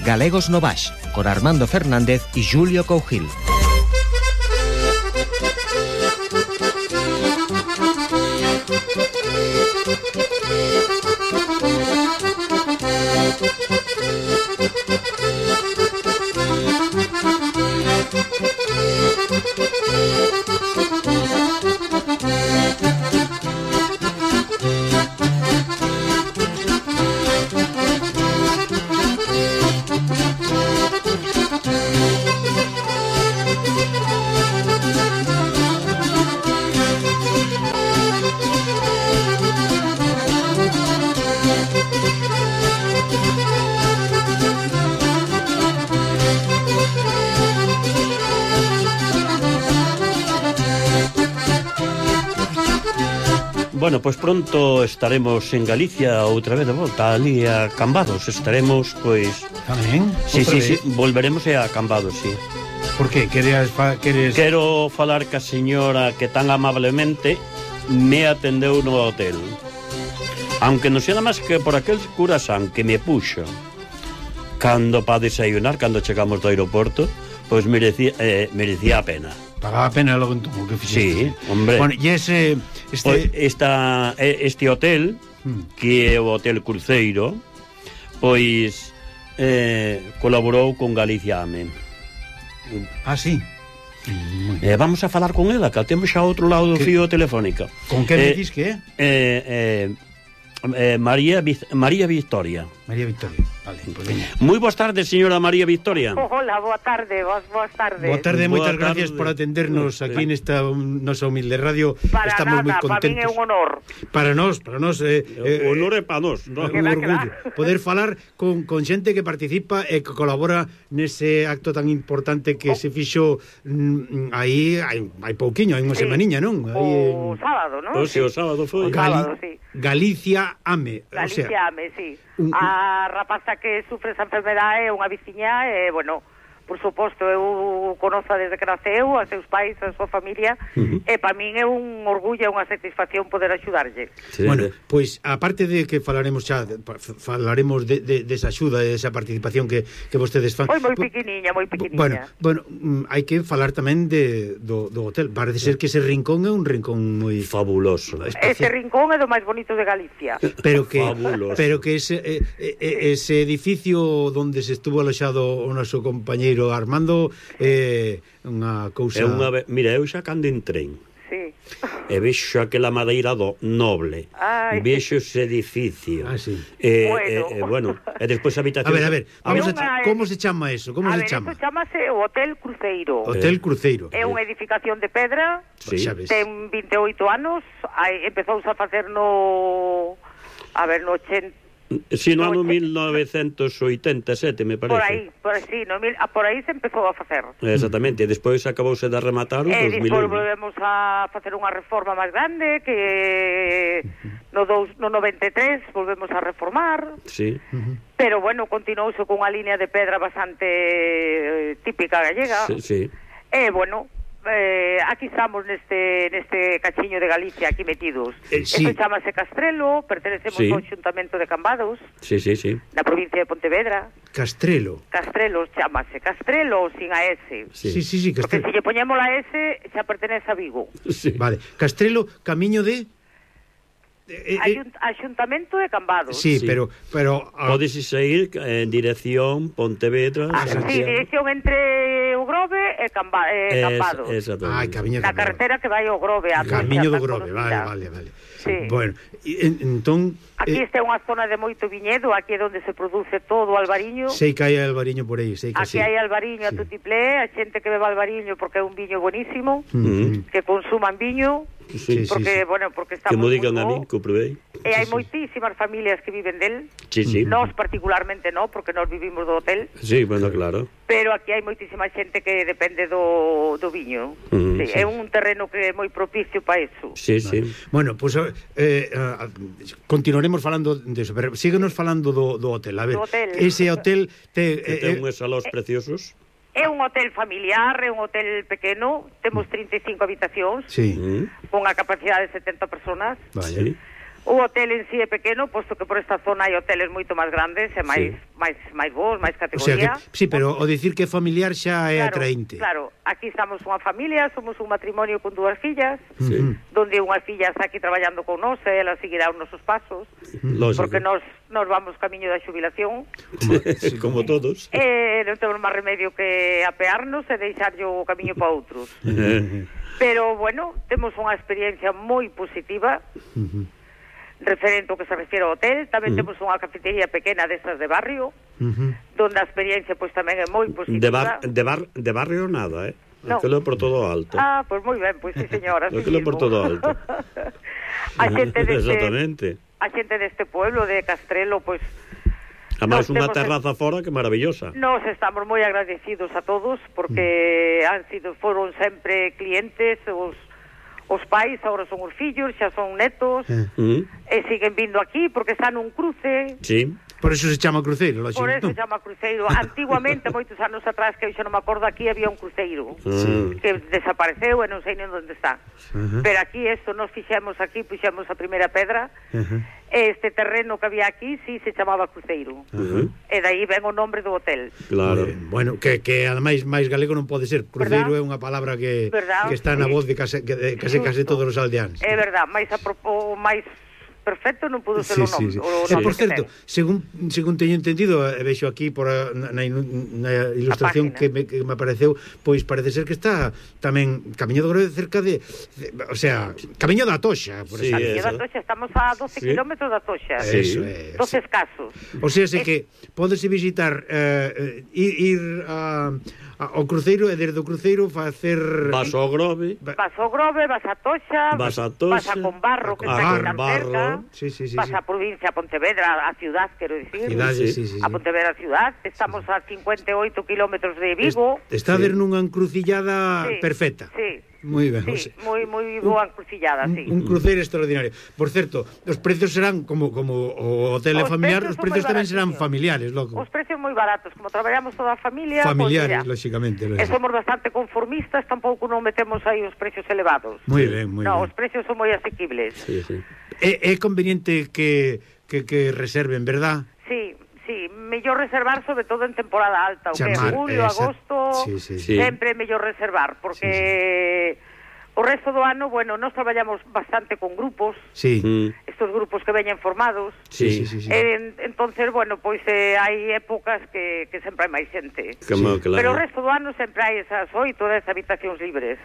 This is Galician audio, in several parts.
Galegos no Baix, con Armando Fernández y Julio Cougil. Bueno, pois pronto estaremos en Galicia outra vez de volta, ali a Cambados. Estaremos, pois... Tamén? Sí, volveremos a Cambados, sí. Por que? Queres... Quero falar ca señora que tan amablemente me atendeu no hotel. Aunque non sea nada máis que por aquel curasán que me puxo cando pa desayunar, cando chegamos do aeroporto, pois merecía a pena. Pagaba a pena logo entón o que fixeste. Sí, hombre. Bueno, e este hotel, que é o Hotel Cruceiro, pois colaborou con Galicia Ame. Ah, sí? Vamos a falar con ela, que temos xa outro lado do fío telefónica. Con que me dis que é? María Victoria. María Victoria, vale, pues veña. Moi boas tardes, señora María Victoria. Hola, boa tarde, boas tardes. Boa tarde, moitas gracias por atendernos aquí nesta nosa humilde radio. Estamos moi contentos. Para min é un honor. Para nós, honor é para nós, un orgullo poder falar con xente que participa e que colabora nese acto tan importante que se fixo aí hai pouquiño, hai unha semaniña, non? O sábado, non? O sábado foi. Galicia Ame. Galicia Ame, sí. A rapaza que sufre esa enfermedade é unha veciña e, bueno, por suposto, eu conozo desde que naceu, a seus pais, a súa familia, e para min é un orgullo e unha satisfacción poder axudarlle. Sí. Bueno, pois, aparte de que falaremos desa axuda, desa participación que vostedes fan. Moi pequeniña. Bueno, hai que falar tamén do hotel. Parece ser que ese rincón é un rincón moi fabuloso. Ese rincón é do máis bonito de Galicia. Pero que ese edificio onde se estuvo aloxado o noso compañeiro Armando unha cousa... Mira, eu xa cando en tren e vexo aquela madeira noble, vexo ese edificio. Bueno, e despois a habitación... A ver, como se chama eso? Eso chamase o Hotel Cruceiro. Hotel Cruceiro. É unha edificación de pedra, ten 28 anos, empezouse a facer no 80... Si, no ano 1987, me parece. Por aí se empezou a facer. Exactamente, e despois acabouse de rematar os 2000. E despois volvemos a facer unha reforma máis grande, que no 93 volvemos a reformar. Sí. Pero, bueno, continuouse con unha línea de pedra bastante típica gallega. Sí. E, bueno... aquí estamos neste cachiño de Galicia aquí metidos. Eso chamase Castrelo, pertenecemos ao Xuntamento de Cambados. Sí. Na provincia de Pontevedra. Castrelo chamase Castrelo sin a S. Sí, Castrelo. Porque se lle poñemos a S xa pertenece a Vigo. Vale, Castrelo, camiño de... Axuntamento de Cambados. Sí, pero podes ir en dirección Pontevedra. Sí, dirección entre o Grove e Cambados. Na carretera que vai ao Grove. Camiño do Grove, vale. Sí. Bueno, entón... Aquí está unha zona de moito viñedo, aquí é onde se produce todo o albariño. Sei que hai albariño por aí, Aquí hai albariño a tutiplé, a xente que beba albariño porque é un viño buenísimo, que consuman viño, porque estamos... Que mo digan a mí, que o probei. E hai moitísimas familias que viven del. Sí. Nós particularmente non, porque nós vivimos do hotel. Sí, bueno, claro. Pero aquí hai moitísima xente que depende do viño. É un terreno que é moi propicio para eso. Sí. Bueno, pois continuaremos falando deso, pero síguenos falando do hotel. A ver, ese hotel ten unhos salóns preciosos. É un hotel familiar, é un hotel pequeno, temos 35 habitacións, sí, con a capacidade de 70 personas. Vale. O hotel en sí é pequeno, posto que por esta zona hai hoteles moito máis grandes e máis bons, máis categoría. Sí, pero o dicir que familiar xa é atraínte. Claro, aquí estamos unha familia, somos un matrimonio con 2 fillas, donde unha filla está aquí traballando con nós, e ela seguirá os nosos pasos, porque nos vamos camiño da xubilación. Como todos. Non temos máis remedio que apearnos e deixarlle o camiño para outros. Pero, bueno, temos unha experiencia moi positiva, referente ao que se refiere ao hotel. Tamén temos unha cafetería pequena destas de barrio, donde a experiencia pois tamén é moi positiva. De barrio nada, No. Aquilo por todo alto. Pois moi ben, pois sí, señora. Aquilo por todo alto. A xente Exactamente. A xente deste pueblo de Castrelo, pois Además, unha terraza fora que maravillosa. Nos estamos moi agradecidos a todos, porque foron sempre clientes, os pais, agora son os fillos, xa son netos, e siguen vindo aquí porque están nun cruce. Sí. Por eso se chama cruceiro, lógico. Por eso se chama cruceiro. Antiguamente, moitos anos atrás, que eu xa non me acordo, aquí había un cruceiro que desapareceu e non sei nin onde está. Pero aquí, nos fixemos aquí, puxemos a primeira pedra, este terreno que había aquí, sí, se chamaba cruceiro. E daí ven o nombre do hotel. Claro. Bueno, que ademais máis galego non pode ser. Cruceiro é unha palabra que está na voz de case todos os aldeáns. É verdad, máis perfecto non pudo ser o nome. Por certo, según teño entendido, vexo aquí na ilustración que me apareceu, pois parece ser que está tamén Camiño do Grove cerca de, o sea, Camiño da Toxa, por exemplo. Camiño da Toxa, estamos a 12 kilómetros da Toxa. Eso 12 escasos. O sea, que podes visitar, ir ao cruceiro e desde o cruceiro facer... Vas ao Grove. Vas ao Grove, vas a Toxa, vas a Combarro, que está tan cerca. Vas a provincia, a Pontevedra, a ciudad, quero dicir. A Pontevedra ciudad. Estamos a 58 kilómetros de Vigo. Está a ver nunha encrucillada perfecta. Sí. Moi ben. Sí, moi boa encrucillada, sí. Un cruceiro extraordinario. Por certo, os precios serán como o hotel é familiar, os precios tamén serán familiares, loco. Os precios moi baratos, como traballamos toda a familia, familiares, lógicamente. E somos bastante conformistas, tampouco non metemos aí os precios elevados. Moi ben, moi ben. No, os precios son moi asequibles. Sí. É conveniente que reserven, verdad? Sí, mellor reservar sobre todo en temporada alta, o que é julio, agosto, sempre é mellor reservar, porque o resto do ano, bueno, nós traballamos bastante con grupos, estos grupos que veñen formados, entonces, bueno, pois hai épocas que sempre hai máis xente, pero o resto do ano sempre hai esas 8 ou 10 habitacións libres.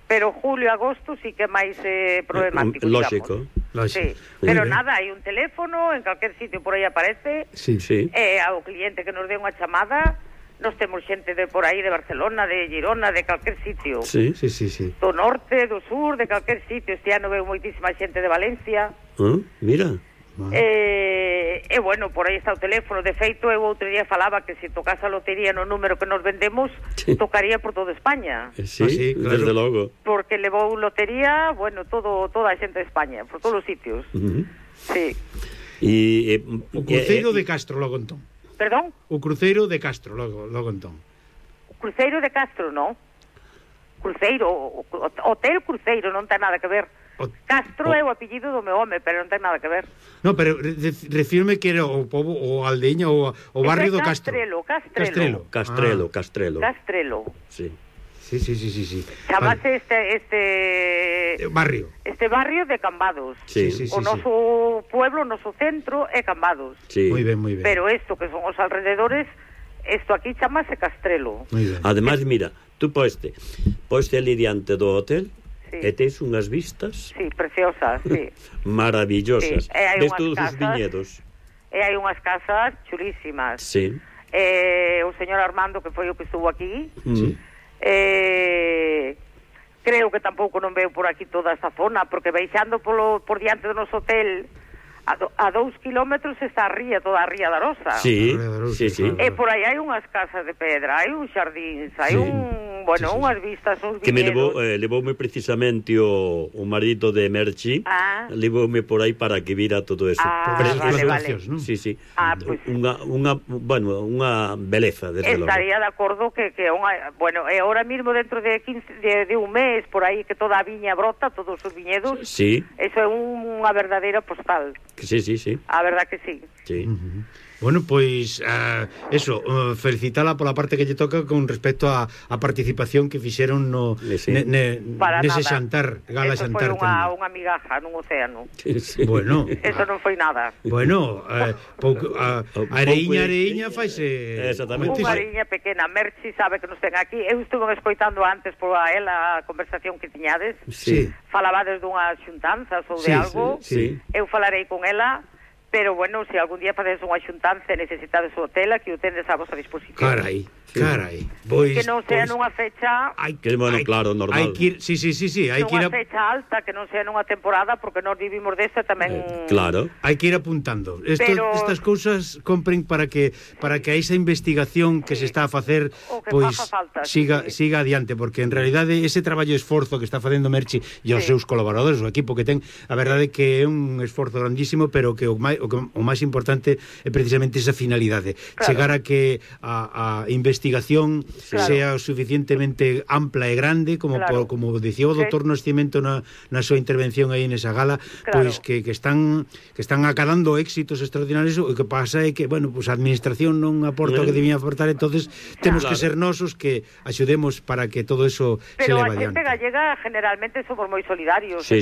Pero julio e agosto sí que é máis problemático, lógico. Sí. Pero nada, hai un teléfono, en calquer sitio por aí aparece, ao cliente que nos dé unha chamada, nos temos xente de por aí, de Barcelona, de Girona, de calquer sitio. Sí. Do norte, do sur, de calquer sitio. Este ano veo moitísima xente de Valencia. Mira. E bueno, por aí está o teléfono. De feito, eu outro día falaba que se tocase a lotería no número que nos vendemos, tocaría por toda España. Sí, claro. Desde logo. Porque levou lotería, bueno, toda a xente de España, por todos os sitios. Sí. O cruceiro de Castro, logo entón. Perdón? O cruceiro de Castro, logo entón. O cruceiro de Castro, non? Cruceiro, hotel Cruceiro, non ten nada que ver. Castro é o apellido do meu home, pero non ten nada que ver. No, pero refírme que era o pobo, o aldeña, o barrio do Castro. Castrelo. Sí. Chamase este barrio. Este barrio de Cambados. O noso pueblo, o noso centro é Cambados. Moi ben. Pero isto que son os alrededores, isto aquí chamase Castrelo. Ademais, mira, tú poiste ali diante do hotel, e tes unhas vistas preciosas, maravillosas, ves todos os viñedos, e hai unhas casas chulísimas. O señor Armando, que foi o que estuvo aquí, creo que tampouco non veo por aquí toda esta zona, porque baixando por diante do noso hotel a 2 kilómetros está toda a ría da Rosa. Sí. E por aí hai unhas casas de pedra, hai uns xardíns, hai un bueno, unhas vistas, uns que me viñedos. levoume precisamente o marido de Merchi, levoume por aí para que vira todo eso. Vale. ¿no? Sí. Pues unha beleza, desde logo. Estaría de acordo que bueno, ahora mismo dentro de 15 de un mes por aí que toda a viña brota, todos os viñedos. Sí. Eso é unha verdadeira postal. Sí. A verdad que sí. Sí. Bueno, pois eso, felicitala pola parte que lle toca con respecto a participación que fixeron nese xantar, gala eso xantar. Eso foi unha migaja nun océano. Sí. Bueno. Eso non foi nada. Bueno, areiña faise. Exactamente. Unha areiña pequena. Merchi sabe que nos ten aquí. Eu estuve escoitando antes por ela a conversación que tiñades. Sí. Falabades dunhas xuntanzas ou de algo. Sí. Eu falarei con ela. Pero, bueno, se algún día facedes unha xuntanza e necesitades o hotel, aquí o tendes a vosa disposición. Carai. Pois, que non sea nunha fecha... Claro, normal. Hai que ir, sí, hai que ir nunha fecha alta, que non sea nunha temporada, porque nós vivimos desta tamén... Claro. Hai que ir apuntando. Estas cousas compren para que a esa investigación que se está a facer pois siga adiante, porque en realidade ese traballo e esforzo que está facendo Merchi e os seus colaboradores, o equipo que ten, a verdade que é un esforzo grandísimo, pero que o máis importante é precisamente esa finalidade, chegar a que a investigación sea suficientemente ampla e grande como dicía o doutor Nascimento na súa intervención aí nesa gala, pois que están acadando éxitos extraordinarios. O que pasa é que, bueno, pues a administración non aporta o que debía aportar, entonces temos que ser nosos que axudemos para que todo eso se leva adiante. Pero a xente gallega generalmente somos moi solidarios. Sí.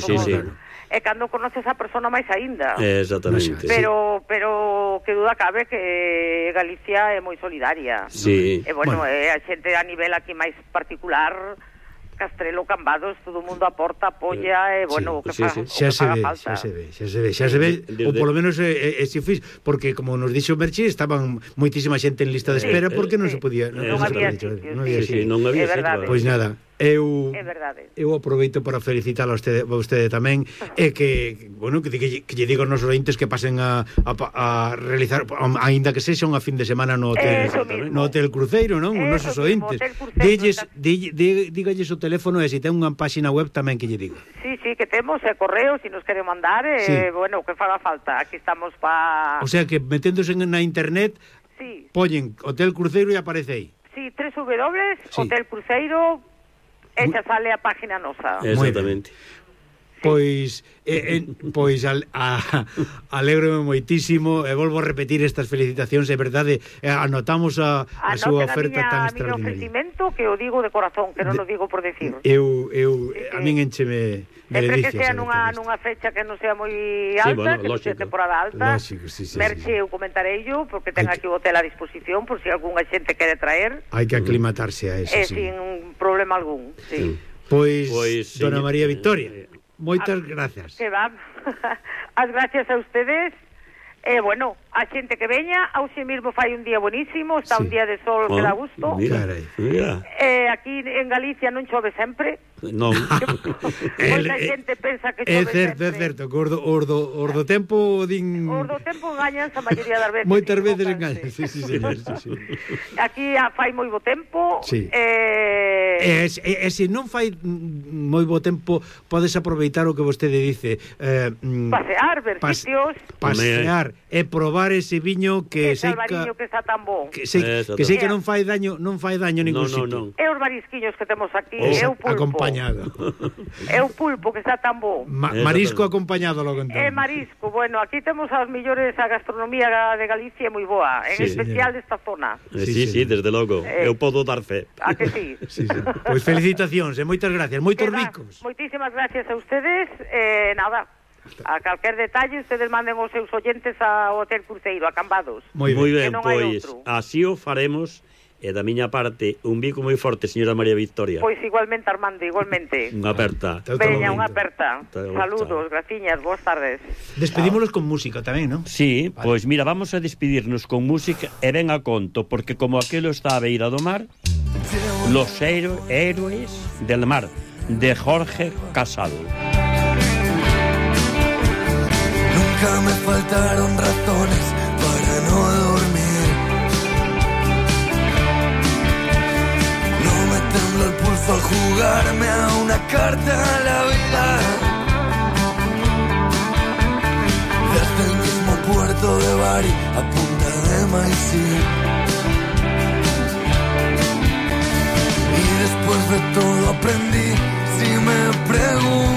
E cando conoces a persona máis aínda. Exactamente. Pero que duda cabe que Galicia é moi solidaria. Sí. E bueno, a xente a nivel aquí máis particular, Castrelo, Cambados, todo o mundo aporta, apoia, e bueno, que faga falta. Xa se ve, ou polo menos se fiz, porque como nos dixo Merchi, estaban moitísima xente en lista de espera porque non se podía, non había sitio. Pois nada, eu aproveito para felicitar a vostede tamén, e que, bueno, que lle digo aos nosos ointes que pasen a realizar, aínda que sexa unha fin de semana no Hotel Cruceiro, non? Os nosos ointes. Dígalles o teléfono e se ten unha páxina web tamén que lle digo. Sí, que temos correo, se nos quere mandar, bueno, que faga falta. Aquí estamos pa... O sea que meténdose na internet, poñen Hotel Cruceiro e aparece aí. Sí, Hotel Cruceiro. Esa sale a página nosa. Exactamente. Pois alégrome moitísimo e volvo a repetir estas felicitacións, é verdade, anotamos a súa oferta tan extraordinaria. A ofrecimento, que o digo de corazón, que non o digo por decir. A min encheme de delicias. Sempre que sea nunha fecha que non sea moi alta, que non sea temporada alta. Merche, eu comentarei yo, porque ten aquí o hotel a disposición, por si algunha xente quere traer. Hai que aclimatarse a eso, sin problema algún, Pois, dona María Victoria, moitas gracias. Que va. As gracias a ustedes. Bueno, a xente que veña, hoxe mesmo fai un día buenísimo, está un día de sol que dá gusto. Mira. Aquí en Galicia non chove sempre. Non. Moita xente pensa que chove sempre. É certo, que os do tempo din... Os do tempo engañan a maioría das veces. Moitas veces engañan, sí. Aquí fai moi bo tempo. E se non fai moi bo tempo, podes aproveitar o que vostede dice. Pasear, ver sitios. Pasear e probar ese viño que sei que está tan bo. Que sei que non fai daño ningún sitio. E os marisquiños que temos aquí, é o pulpo. Acompañado. É o pulpo que está tan bo. Marisco acompañado, logo entón. É marisco, bueno, aquí temos as millores, a gastronomía de Galicia é moi boa, en especial desta zona. Sí, desde logo, eu podo dar fe. A que sí? Pois felicitacións e moitas gracias, moitos ricos. Moitísimas gracias a ustedes, nada. A calquer detalle, ustedes manden os seus oyentes ao Hotel Cruceiro, a Cambados. Moi ben, pois así o faremos. E da miña parte, un bico moi forte, señora María Victoria. Pois igualmente, Armando, igualmente. Unha aperta. Veña, unha aperta. Saludos, graciñas, boas tardes. Despedímonos con música tamén, non? Sí, pois mira, vamos a despedirnos con música e ven a conto, porque como aquelo está a beira do mar, Los héroes del mar, de Jorge Casal. Nunca me faltaron razones para no dormir. No me tembló el jugarme a una carta a la vida. Desde el mismo puerto de Bari a Punta de Maicí. Y después de todo aprendí, si me preguntas